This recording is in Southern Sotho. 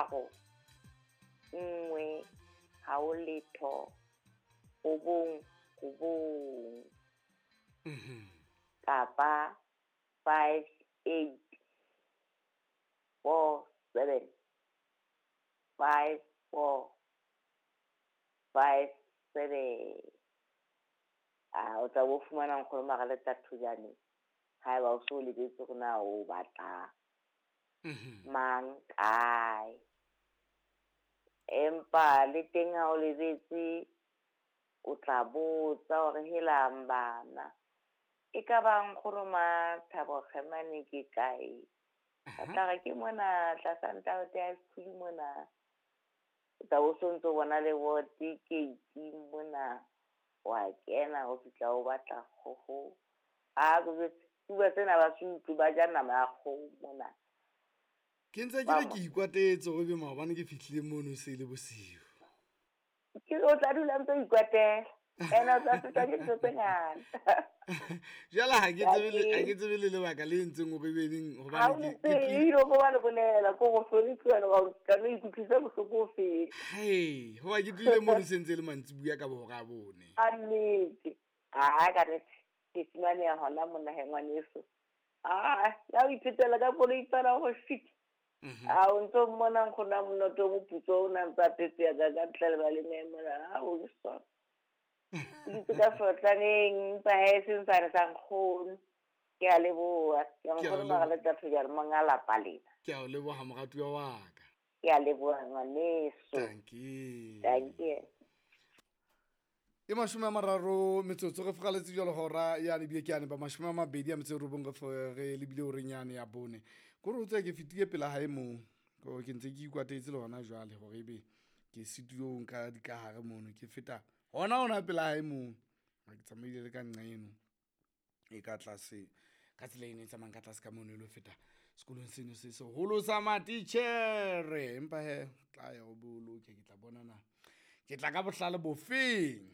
3 1 ha o letho 9 9. Kapa 5 8 4 7 5 4 5 7. A o tla bo fumana nkgono Magaletla Thojane haeba o so lebetse hore na o batla mang kae. Empa le teng ha o lebetse o tla botsa hore helang bana e ka ba nkgono Mathabo Kgemane ke kae? Ba tla re ke mona tlasa Ntate High School mona. O tla bo so ntso bona le bote gate mona. Wa kena o fihla o batla kgoho. A ko jwetse, bua sena ba se utlwe ba ja nama ya kgoho mona. Ke ntse ke re ke ikwatetse hore ebe maobane ke fihlile mono e se le bosiu. Ke o tla dula ntse o ikwatela. Ene o tla fetwa ke ntho tse ngata. Jwale ha ke tsebe le ha ke tsebe le lebaka le entseng hore ebe neng Ha hobane o ke ke tsebe ebile o ba le bolela ko go hloniphiwa le gore tla no ikutlwisa bohloko ho feta. Hei, hoba ke tlohile mono se ntse e le mantsibuya ka bo hora ya 4. Ka nnete. Ah, ka nnete. Ke fumaneha hona mona he ngwaneso. Ah, ya o iphetela ka koloi fela go fit. A o ntso mmona nkgono wa Monoto o moputso o na ntse a phetse ka ka ntle le baleng mona. Ha o ke sona. O dutse ka sotlaneng empa he e seng sane sa nkgono. Ke a leboha. Ke Ke a nkgono o leboha. Magaletla Thojane monga lapa lena. Ke a o leboha moratuwa wa ka. Ke a leboha ngwaneso. Dankie. Dankie. E 30 metsotso re furaletse jwalo hora yane ebile ke yane ba 29 re lebile horeng yane ya 4. Kore o tsebe ke fetile pela hae moo. Ko ke ntse ke ikwatetse le hona jwale hore ebe ke situong ka dikahare mono ke feta hona pela hae moo. Ha ke tsamaile le ka nqa eno e ka tlase ka tsela eno e tsamayang ka tlase ka mono e lo feta sekolong seno se seholo sa matitjhere. Empa he tla ya o boloke ke tla bona na ke tla ka bohlale bofeng.